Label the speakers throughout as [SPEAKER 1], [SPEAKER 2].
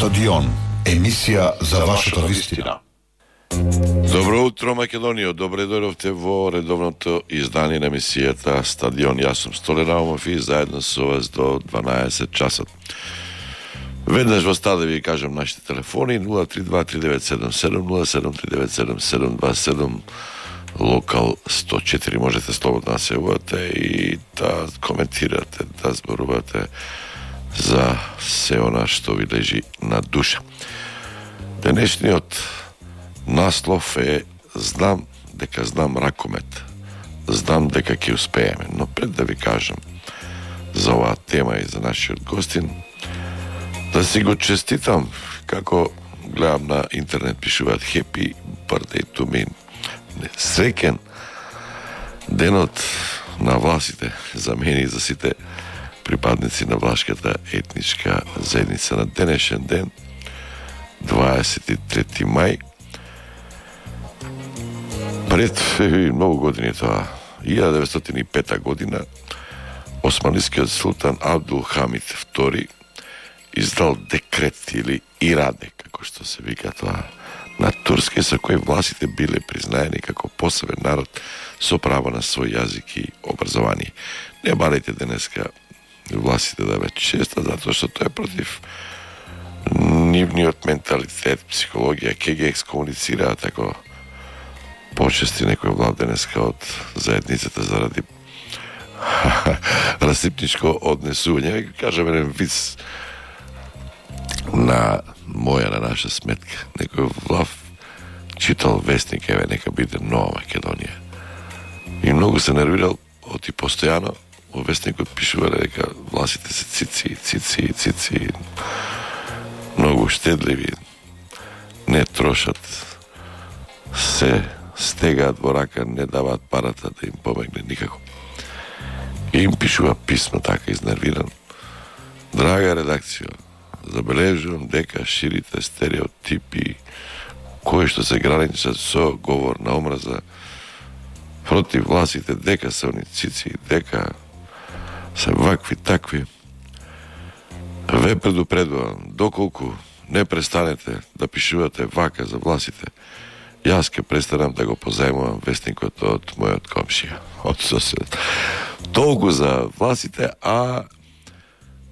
[SPEAKER 1] Стадион, емисија за вашата вистина.
[SPEAKER 2] Добро утро, Македонија. Добре дојдовте во редовното издание на емисијата Стадион. Јас сум Столе Наумов и заедно со вас до 12 часот. Веднаш во стаде ви кажам нашите телефони 032-3977, 0739727, локал 104. Можете слободно да се јавувате и да коментирате, да зборувате за се она што ви лежи на душа. Денешниот наслов е знам дека знам ракомет. Знам дека ќе успееме. Но пред да ви кажам за оваа тема и за нашиот гостин, да си го честитам, како гледам на интернет пишуваат Happy birthday to me. Среќен денот на власите за мене и за сите припадници на влашката етничка заедница на денешен ден, 23 мај. Пред многу години тоа, 1905 година, османлискиот султан Абдул Хамид II издал декрет или ираде, како што се вика тоа на турски, со кој власите биле признаени како посебен народ со право на свој јазик и образование. Не барајте денеска власите да ве честат, затоа што тоа е против нивниот менталитет, психологија, ке ги екскомуницираат ако почести некој влад денеска од заедницата заради расипничко однесување. Кажам еден виц на моја, на наша сметка. Некој влав читал вестник, еве, нека биде Нова Македонија. И многу се нервирал, оти постојано во вестникот пишувале дека власите се цици, многу штедливи, не трошат, се стегаат во рака, не даваат парата да им помогне никако. И им пишува писмо така изнервиран. Драга редакција, забележувам дека ширите стереотипи кои што се граничат со говор на омраза против властите, дека се они цици, дека се вакви такви. Ве предупредувам, доколку не престанете да пишувате вака за властите, јас ке престанам да го позајмувам вестникот од мојот комшија, од соседот. Толку за властите, а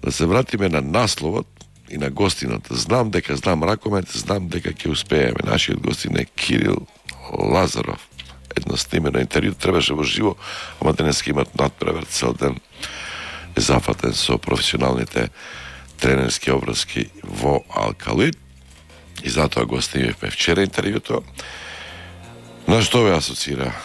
[SPEAKER 2] да се вратиме на насловот и на гостинот. Знам дека знам ракомет, знам дека ќе успееме. Нашиот гостин е Кирил Лазаров. Едно снимено интервју требаше во живо, ама денеска имат надпревар, цел ден е зафатен со професионалните тренерски обврски во Алкалуид. И затоа го снимивме вчера интервјуто. На што ве асоцира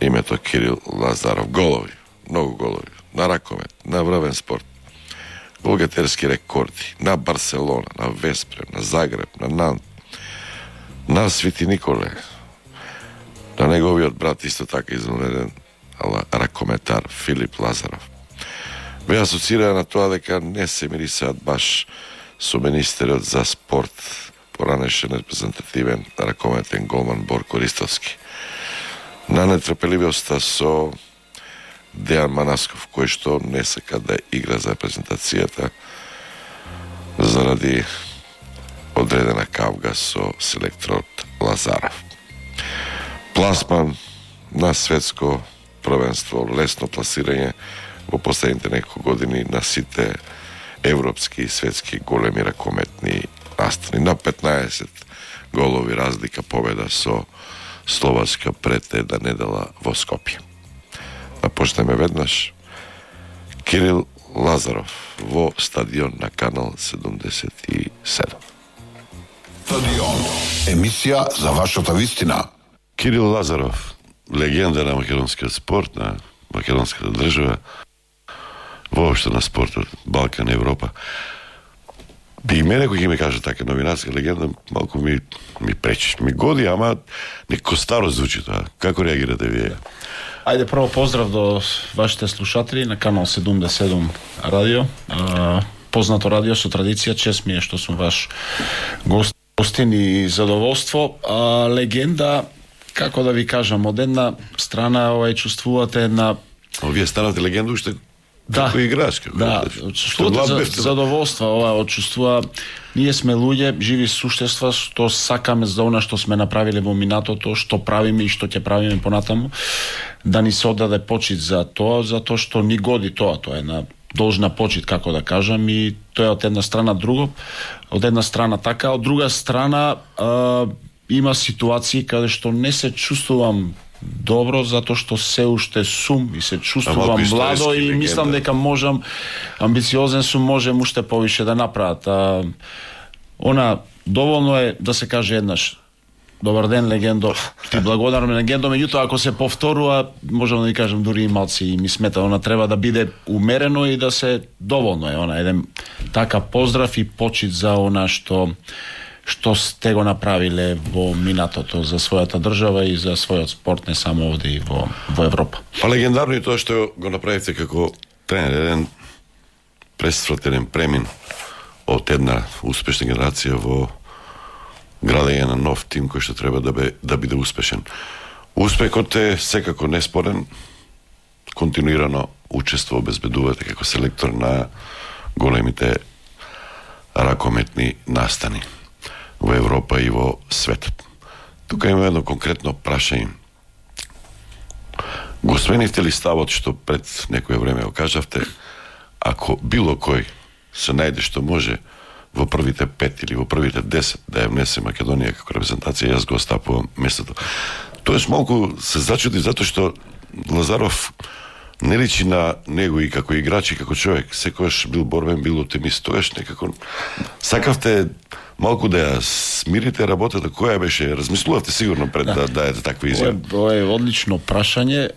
[SPEAKER 2] името Кирил Лазаров? Голови, многу голови, на ракомет, на врвен спорт, голгетерски рекорди, на Барселона, на Веспрем, на Загреб, на Нант, на Свети Николе, на неговиот брат исто така извонреден ракометар Филип Лазаров. Ве асоцира на тоа дека не се мирисаат баш со министерот за спорт, поранешен репрезентативен ракометен голман Борко Ристовски. На нетрпеливоста со Дејан Манасков, кој што не сака да игра за репрезентацијата заради одредена кавга со селекторот Лазаров. Пласман на светско првенство, лесно пласирање во последните неколку години на сите европски и светски големи ракометни настани. На 15 голови разлика победа со Словачка пред една недела во Скопје. Да почнеме веднаш. Кирил Лазаров во Стадион на Канал 77.
[SPEAKER 1] Стадион, емисија за вашата вистина.
[SPEAKER 2] Кирил Лазаров, легенда на македонскиот спорт, на македонската држава, воопшто на спортот, Балкан, Европа. И мене кој ќе ми каже така новинарска легенда, малку ми пречиш. Ми годи, ама некако старо звучи тоа. Како реагирате вие?
[SPEAKER 3] Ајде, прво поздрав до вашите слушатели на Канал 77 радио. Познато радио со традиција, чест ми е што сум ваш гостин и задоволство. Легенда, како да ви кажам, од една страна чувствувате една...
[SPEAKER 2] Вие станате легенда уште како играч, како
[SPEAKER 3] чувствувате задоволство, ова чувствува. Ние сме луѓе, живи суштества, што сакаме за она што сме направиле во минатото, што правиме и што ќе правиме понатаму, да ни се отдаде почит за тоа, затоа што ни годи тоа. Тоа е една должна почит, како да кажам, и тоа е од една страна друго, од една страна така, од друга страна има ситуации каде што не се чувствувам добро, затоа што се уште сум и се чувствувам младо и мислам дека можам, амбициозен сум, можем уште повише да направат. Она доволно е да се каже еднаш: добар ден, легендо, ти благодарам, легендо, меѓутоа ако се повторува, можам да ви кажам, дури и малци и ми смета, она треба да биде умерено и да се доволно е, она еден така поздрав и почит за она што сте го направиле во минатото за својата држава и за својот спорт, не само овде и во Европа.
[SPEAKER 2] Па легендарно и тоа што го направите како тренер, еден пресвратен премин од една успешна генерација во градење на нов тим кој што треба да биде успешен. Успехот е секако неспорен, континуирано учество обезбедувате како селектор на големите ракометни настани во Европа и во светот. Тука има едно конкретно прашање. Го сменивте ли ставот што пред некое време го кажавте, ако било кој се најде што може во првите 5 или во првите 10 да ја внесе Македонија како репрезентација, јас го остапувам местото. Тоест малку се зачуди затоа што Лазаров не личи на него и како играч и како човек. Секогаш бил борбен, бил оптимист. Тогаш некако сакавте малку да ја смирите работата, која беше? Размислувавте сигурно пред да даете таква изјава.
[SPEAKER 3] Ова е одлично прашање.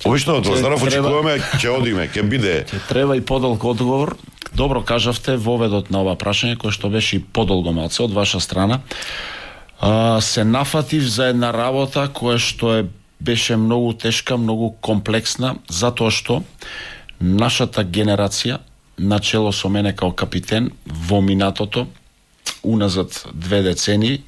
[SPEAKER 2] Обично од Лазаров очекуваме ќе одиме, ќе биде.
[SPEAKER 3] Ќе треба и подолг одговор. Добро кажавте воведот на ова прашање, кој што беше и подолго малце од ваша страна. Се нафатив за една работа која што беше многу тешка, многу комплексна, затоа што нашата генерација, начело со мене као капитен, во минатото, уназад 2 децении,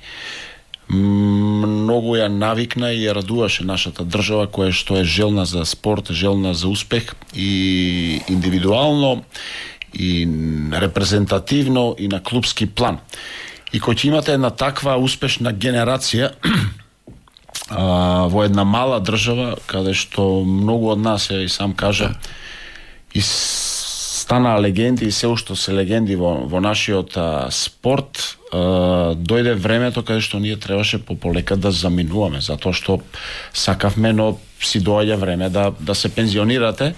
[SPEAKER 3] многу ја навикна и ја радуваше нашата држава, која што е желна за спорт, желна за успех и индивидуално, и репрезентативно, и на клубски план. И кој ќе имате една таква успешна генерација во една мала држава, каде што многу од нас, ја и сам кажа, и станаа легенди и се уште се легенди во нашиот спорт, дојде времето каде што ние требаше полека да заминуваме, затоа што сакавме, но си доаѓа време да се пензионирате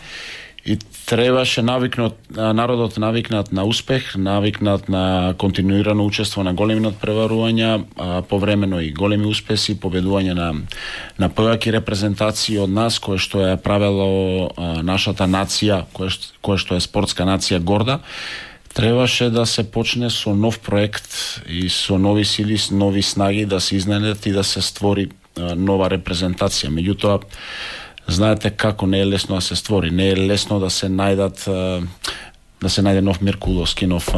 [SPEAKER 3] и требаше народот навикнат на успех, навикнат на континуирано учество на големи надпреварувања, повремено и големи успеси, победување на појаки репрезентации од нас, кое што е правело нашата нација, кое што е спортска нација горда. Требаше да се почне со нов проект и со нови сили, со нови снаги да се изненет и да се створи нова репрезентација. Меѓутоа, знаете како не е лесно да се створи, не е лесно да се најде нов Меркуловски, нов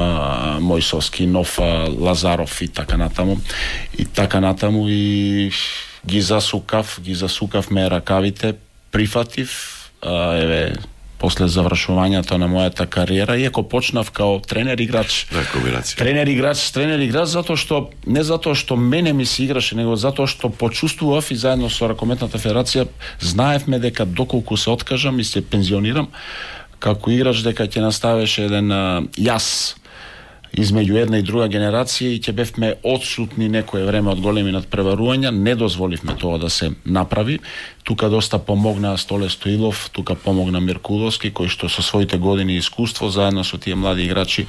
[SPEAKER 3] Мојсовски, нов Лазаров и така натаму. И ги засукавме ракавите, прифатив, после завршувањето на мојата кариера, иако почнав као тренер-играч. Тренер-играч, затоа што мене ми се играше, него затоа што почувствував и заедно со Ракометната федерација знаевме дека доколку се откажам и се пензионирам како играч, дека ќе наставеше еден јас измеѓу една и друга генерација и ќе бевме отсутни некое време од големи надпреварувања, не дозволивме тоа да се направи. Тука доста помогна Столе Стоилов, тука помогна Меркуловски, кој што со своите години искуство, заедно со тие млади играчи,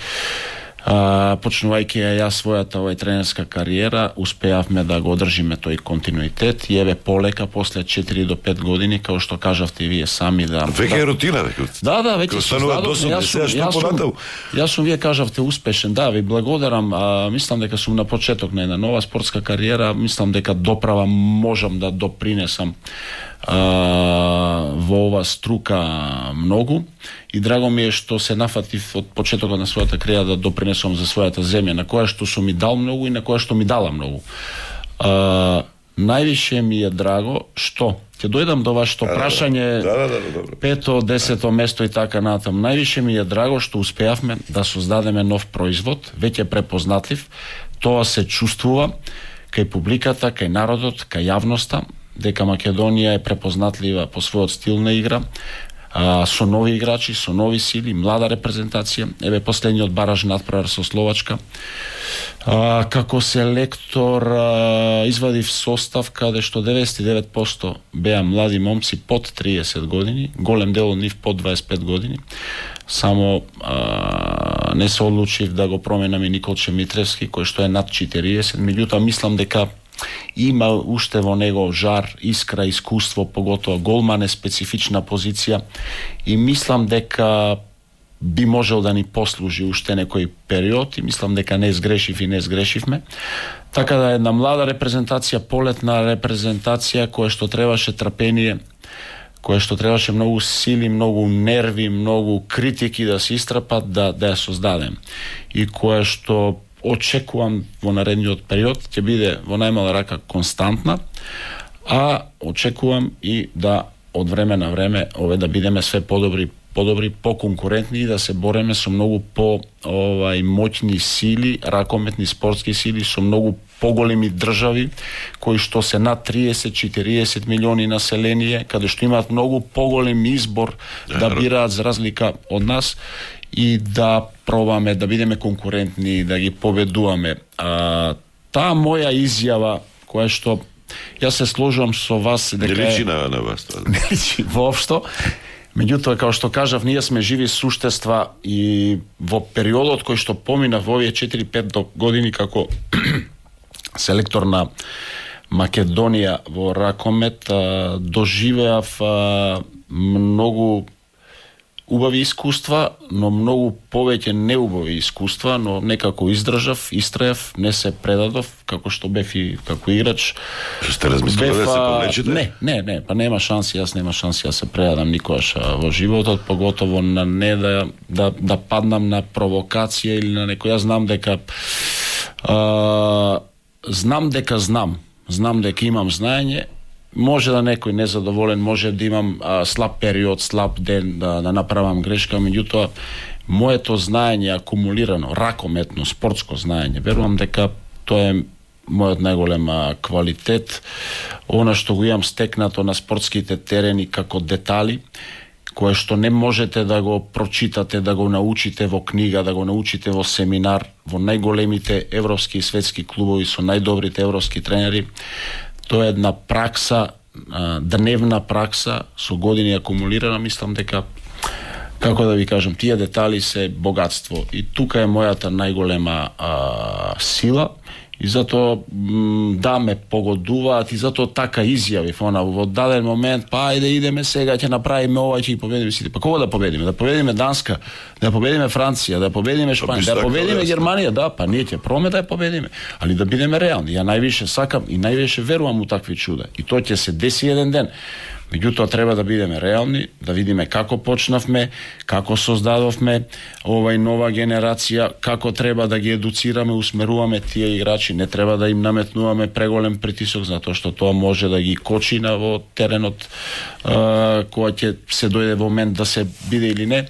[SPEAKER 3] почнувајќи ја својата тренерска кариера, успеавме да го одржиме тој континуитет и еве полека, после 4 до 5 години, како што кажавте и вие сами,
[SPEAKER 2] веќе е рутина, веќе.
[SPEAKER 3] Да, веќе јас сум, вие кажавте успешен, ви благодарам, мислам дека сум на почеток на една нова спортска кариера, мислам дека доправа можам да допринесам во ова струка многу и драго ми е што се нафатив од почетокот на својата кариера да допринесам за својата земја, на која што сум ми дал многу и на која што ми дала многу. највише ми е драго што ќе дојдам до вашето прашање, пето, 10 место и така натам. Највише ми е драго што успеавме да создадеме нов производ, веќе препознатлив. Тоа се чувствува кај публиката, кај народот, кај јавноста, дека Македонија е препознатлива по својот стил на игра, со нови играчи, со нови сили, млада репрезентација. Еве последниот бараж надпревар со Словачка. Како селектор извадив состав каде што 99% беа млади момци под 30 години, голем дел од нив под 25 години. Само не се одлучив да го променам и Николче Митревски, кој што е над 40, меѓутоа мислам дека има уште во него жар, искра, искуство, поготоа голман е специфична позиција и мислам дека би можел да ни послужи уште некој период и мислам дека не сгрешив и не сгрешивме. Така да една млада репрезентација, полетна репрезентација која што требаше трпение, која што требаше многу сили, многу нерви, многу критики да се истрапат да ја создадем и која што очекувам во наредниот период ќе биде во најмала рака константна, а очекувам и да од време на време да бидеме све подобри, поконкурентни и да се бореме со многу моќни сили, ракометни спортски сили, со многу поголеми држави кои што се над 30-40 милиони население, каде што имаат многу поголем избор да бираат за разлика од нас и да пробаме да бидеме конкурентни, да ги победуваме. Таа моја изјава, која што јас се сложувам со вас дека
[SPEAKER 2] не личи на вас тоа.
[SPEAKER 3] Не личи воопшто. Меѓутоа, како што кажав, ние сме живи суштества и во периодот кој што помина во овие 4-5 години како селектор на Македонија во ракомет, доживеав многу убави искуства, но многу повеќе неубави искуства, но некако издржав, истраев, не се предадов, како што бев и како играч.
[SPEAKER 2] Што сте размислували да се повлечете?
[SPEAKER 3] Не, па нема шанси, јас нема шанси да се предадам никогаш во животот, поготово на не да паднам на провокација или на некој. Јас знам дека знам дека имам знаење. Може да некој незадоволен, може да имам слаб период, слаб ден, да направам грешка, меѓутоа моето знаење акумулирано, ракометно, спортско знаење, верувам дека тоа е мојот најголем квалитет, она што го имам стекнато на спортските терени како детали, кое што не можете да го прочитате, да го научите во книга, да го научите во семинар, во најголемите европски и светски клубови со најдобрите европски тренери. Тоа е една пракса, дневна пракса, со години акумулирана, мислам дека, како да ви кажам, тие детали се богатство. И тука е мојата најголема сила, и затоа ме погодуваат, и затоа така изјавив, во даден момент, па ајде идеме сега, ќе направиме ова, ќе ги победиме сите. Па кого да победиме? Да победиме Данска, да победиме Франција, да победиме Шпанија, да победиме Германија, па ние ќе пробаме да ја победиме, али да бидеме реални. Ја највише сакам и највише верувам у такви чуда. И тоа ќе се деси еден ден. Меѓутоа треба да бидеме реални, да видиме како почнавме, како создадовме нова генерација, како треба да ги едуцираме, усмеруваме тие играчи, не треба да им наметнуваме преголем притисок, затоа што тоа може да ги кочи во теренот кога ќе се дојде во момент да се биде или не.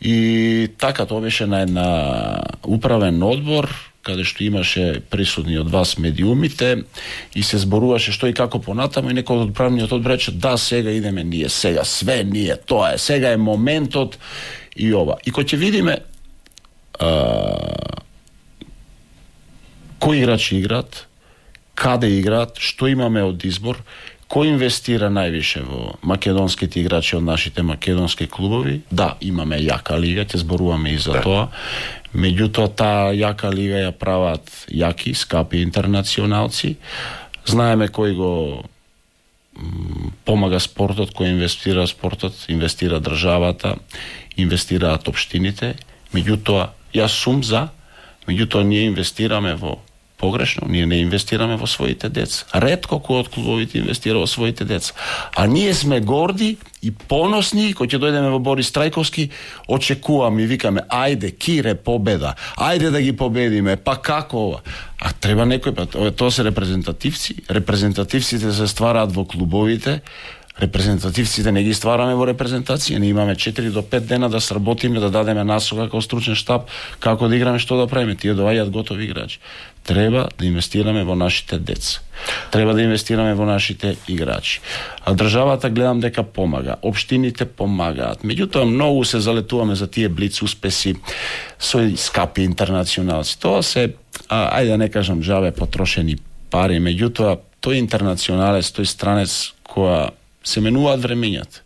[SPEAKER 3] И така тоа беше на една управен одбор, каде што имаше присутни од вас медиумите и се зборуваше што и како понатаму, и некој од управниот одбор рече да, сега идеме ние, сега све ние, тоа е, сега е моментот и ова. И кој ќе видиме кои играчи играат, каде играат, што имаме од избор, кој инвестира највише во македонските играчи од нашите македонски клубови. Да, имаме јака лига, ќе зборуваме и за тоа. Меѓутоа, таа јака лига ја прават јаки, скапи интернационалци. Знаеме кој го помага спортот, кој инвестира спортот, инвестира државата, инвестираат општините. Меѓутоа, јас сум за, меѓутоа ние инвестираме во погрешно, ние не инвестираме во своите деца. Ретко кој од клубовите инвестира во своите деца. А ние сме горди и поносни, кој ќе дојдеме во Борис Трајковски, очекуваме и викаме, ајде, Кире, победа, ајде да ги победиме, па како ова? А треба некој, тоа се репрезентативци. Репрезентативците се ствараат во клубовите, репрезентативците не ги ствараме во репрезентација, ние имаме 4 до 5 дена да сработиме, да дадеме насока како стручен штаб, како да играме, што да правиме, тие доаѓаат готови играчи. Треба да инвестираме во нашите деца. Треба да инвестираме во нашите играчи. А државата гледам дека помага, општините помагаат. Меѓутоа многу се залетуваме за тие блиц успеси со скапи интернационалци. Тоа се, ајде да не кажам джабе потрошени пари, меѓутоа тој интернационалец, тој странец која се менуваат времењата.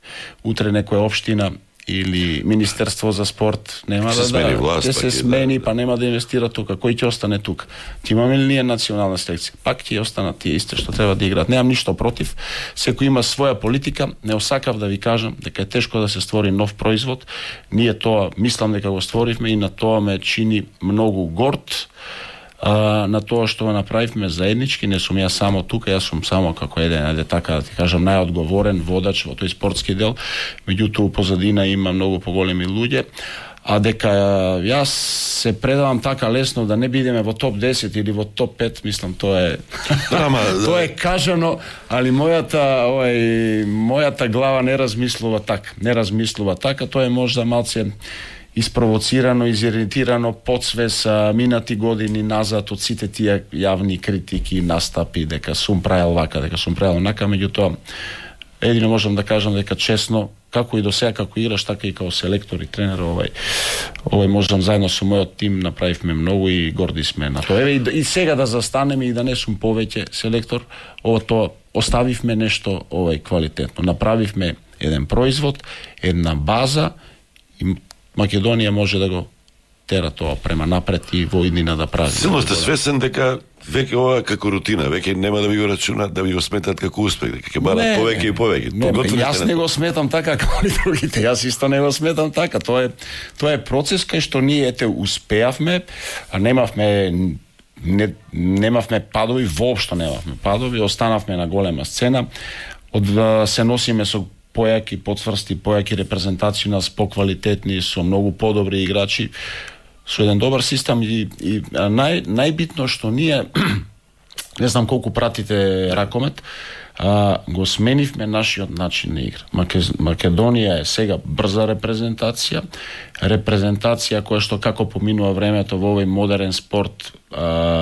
[SPEAKER 3] Утре некоја општина или Министерство за спорт нема да
[SPEAKER 2] смени власт,
[SPEAKER 3] ќе се смени, па нема да инвестира тука. Кој ќе остане тука? Ќе имаме ли ние национална селекција? Пак ќе останат тие исти што треба да играат. Немам ништо против. Секој има своја политика. Не осакав да ви кажам дека е тешко да се створи нов производ. Ние тоа мислам дека го створивме и на тоа ме чини многу горд. На тоа што го направивме заеднички, не сум ја само тука, јас сум само како еден, ајде така да ти кажам, најодговорен водач во тој спортски дел, меѓутоа позадина има многу поголеми луѓе, а дека јас се предавам така лесно да не бидеме во топ 10 или во топ 5, мислам тоа е тоа е кажано, али мојата глава не размислува така, тоа е можда малце испровоцирано, изиритирано, подсвес минати години назад од сите тие јавни критики, настапи, дека сум правил вака, дека сум правил онака, меѓутоа едино можам да кажам дека честно, како и до сега како играш, така и како селектор и тренер, овој можам заедно со мојот тим направивме многу и горди сме на тоа. И сега да застанеме и да не сум повеќе селектор, тоа оставивме нешто квалитетно. Направивме еден производ, една база и Македонија може да го тера тоа према напред и во иднина да прави.
[SPEAKER 2] Силно сте свесен дека веќе ова како рутина, веќе нема да ви го рачунат, да ви го сметат како успех, дека ќе барат повеќе и повеќе.
[SPEAKER 3] Јас не го сметам така како и другите, јас исто не го сметам така. Тоа е процес кај што ние успеавме, а немавме падови, воопшто немавме падови, останавме на голема сцена, се носиме со појаки потврсти, појаки репрезентации нас поквалитетни, со многу подобри играчи, со еден добар систем и најбитно што ние не знам колку пратите ракомет, го сменивме нашиот начин на игра. Македонија е сега брза репрезентација која што како поминува времето во овој модерен спорт